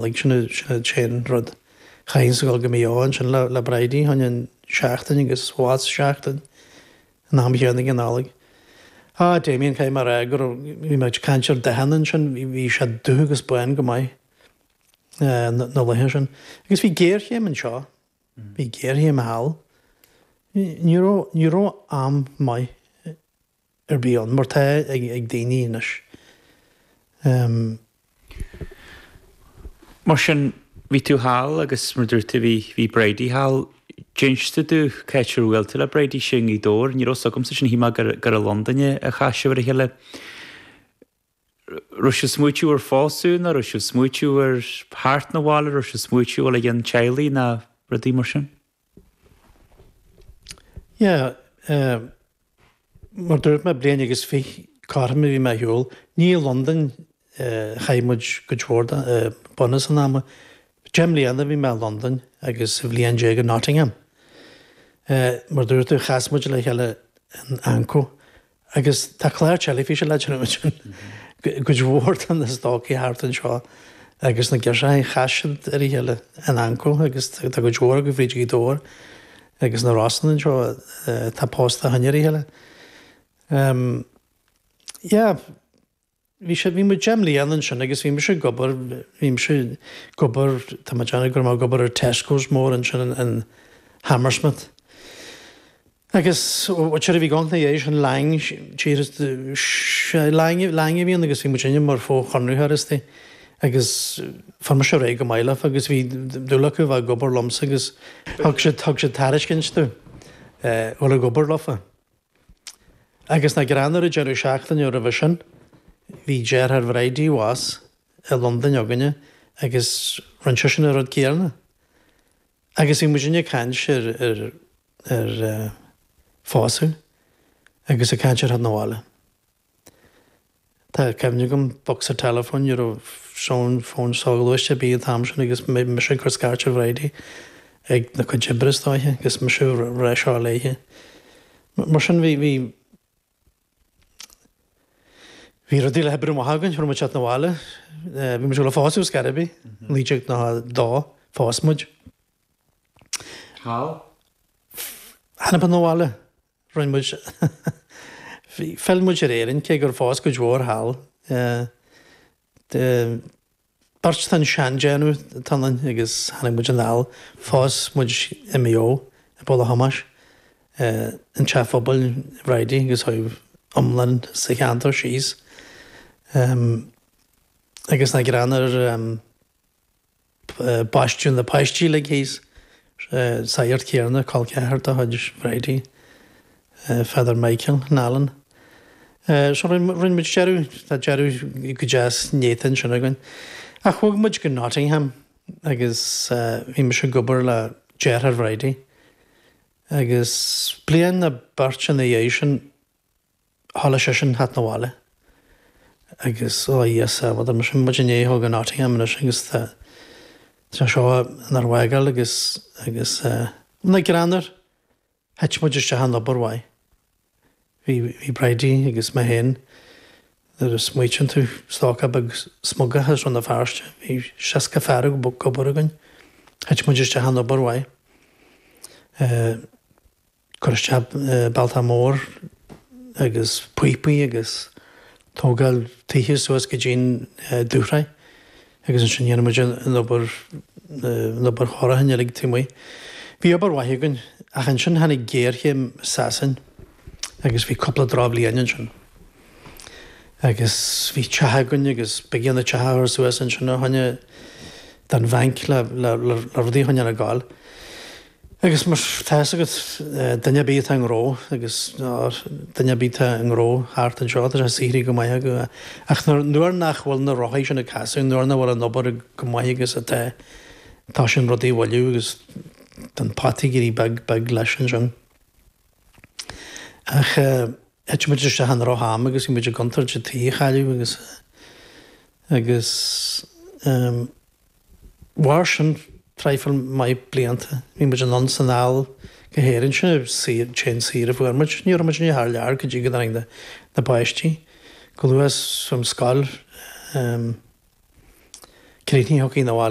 Nollaig, sin an t-aon rud. Chaithfinnse dul go Maigh Eo ansin le Bridie, fá choinne seachtain agus abhus seachtain an am chéanna ag an Nollaig. Ah, Damien, caithfidh mé a rá go raibh, bhí mé ag caint ar dathanna ansin, bhí sé dubh agus bán go maith na laetha sin. Agus bhí géarchéim anseo, bhí géarchéim thall. Ní raibh, ní raibh am maith ar bith ann, mar tá ag daoine anois. Mar sin, bhí tú thall agus mar dúirt tú bhí, bhí Bridie thall. D'inis tú domh cá háit ar bhuail tú le Bridie, sé i nGaoth Dobhair. Ní raibh 'fhios agamsa sin, shíl mé gur, gur i Londain a chas sibh ar a chéile. Raibh sibh ag smaoitiú ar phósadh nó raibh sibh ag smaoitiú ar theacht 'na bhaile, raibh sibh ag smaoitiú dhul i gcionn teaghlaigh nó rudaí mar sin? Yeah, mar dúirt mé, bliain agus fiche cothrom a bhí mé ar shiúl. Ní i Londain a chaith muid cuid mhór de bunús an ama. 10 mbliana a bhí mé i Londain agus bhliain déag i Nottingham. Mar dúirt tú, chas muid le chéile in Anco Agus tá clár teilifíse le déanamh ansin. Cuid mhór de na stócaigh thart anseo agus na girseachaí, chas siad ar a chéile in Anco agus tá cuid mhór acu fríd Ghaoth Dobhair agus na Rosann anseo atá pósta ó shin ar a chéile. Yeah. Bhí sé, bhí muid 10 mbliana ansin agus bhí mise ag obair, bhí mise ag obair, tá mé ag déanamh go raibh mé ag obair ar Tesco's mór ansin in Hammersmith. Agus sure bhí gonc na dhiaidh sin Lang, tír, Lang, Lang a bhí ann agus bhí muid inne mar fho-chonraitheoir istigh agus fuair mise ar aghaidh go maith leofa agus bhí dúil acu a bheith ag obair liomsa agus thug siad, thug siad tairiscint domh dhul ag obair leofa. Agus nach greannmhar an deireadh seachtaine roimhe sin, bhí deartháir Bhridie abhus i Londain againne agus rinne seisean an rud céanna. Agus bhí muidinne ag caint ar ar ar phósadh agus ag caint ar theacht 'na bhaile. Tá cuimhne agam bocsa teileafóin, ní raibh fón fón soghluaiste ar bith an t-am sin agus mise ag cur scairt ar Bhridie ag na cuid oibre is dóiche agus mise ag rá seo léithe. Mar sin bhí bhí bhí rudaí le hoibriú amach againn, raibh muid teacht 'na bhaile, bhí muid ag dul a phósadh ar scor ar bith, 1992 phós muid. Thall? Tháinig muid 'na bhaile. Rinne muid, phill muid ar Éirinn, cé gur phós cuid mhór thall. Beirt den seandéanamh atá ionainn agus tháinig muid anall, phós muid i Maigh Eo, i bPoll a' Thomáis, an teach phobail Bhridie agus chuaigh iomlán sa cheantar síos. Agus nach greannmhar. Baisteadh na páistí uilig thíos, sagart céanna, col ceathar de chuid Bhridie, Father Michael Nallen. So rinne muid deireadh, tá deireadh go deas néata ansin againn. Ach bhog muid go Nottingham agus bhí mise ag obair le deartháir Bhridie agus bliain nó beirt ina dhiaidh sin, Thoiligh seisean theacht 'na bhaile agus ó a Dhia sábháil mise muid i ndiaidh a dhul go Nottingham anois agus tá sé seo inár bhfágáil agus agus nach greannmhar thit muid isteach in obair mhaith. Bhí bhí Bridie agus mé féin nuair a smaoitíonn tú stócach beag smugach as Rann na Feirste bhí 60 fear ag obair againn. Thit muid isteach in obair mhaith. Cur isteach bealtach mór agus píopaí agus tógáil tithe suas go dtí'n dúshraith agus ansin dhéanadh muid an obair an obair chóiriúcháin uilig taobh amuigh. Bhí obair mhaith againn ach ansin tháinig géarchéim i Sasain agus bhí cúpla drochbhliain ansin agus bhí teach againn agus b'éigean an teach a chur suas ansin a choinne don bhanc le le le rudaí a choinneáil ag gabháil. Agus mar tá fhios agat, duine ar bith atá i ngnó agus duine ar bith atá i ngnó thart anseo, tá sé saothraithe go maith acu. Ach nuair nach bhfuil na rothaí sin ag casadh, nuair nach bhfuil an obair go maith agus atá, tosaíonn rudaí a mhoilliú agus tá an pota ag éirí beag beag leis ansin. Ach thit muid isteach i ndroch-am agus bhí muid i gcontúirt an tí a chailleadh agus agus Mhair sin traidhfil maith blianta. Bhí muid anonn 's anall go hÉirinn. Sin an t-aon saoire a fuair muid. Ní raibh muid thar lear go dtí go dtáinig na páistí go luath ón scoil. Críochnaithe thiocfainn abhaile.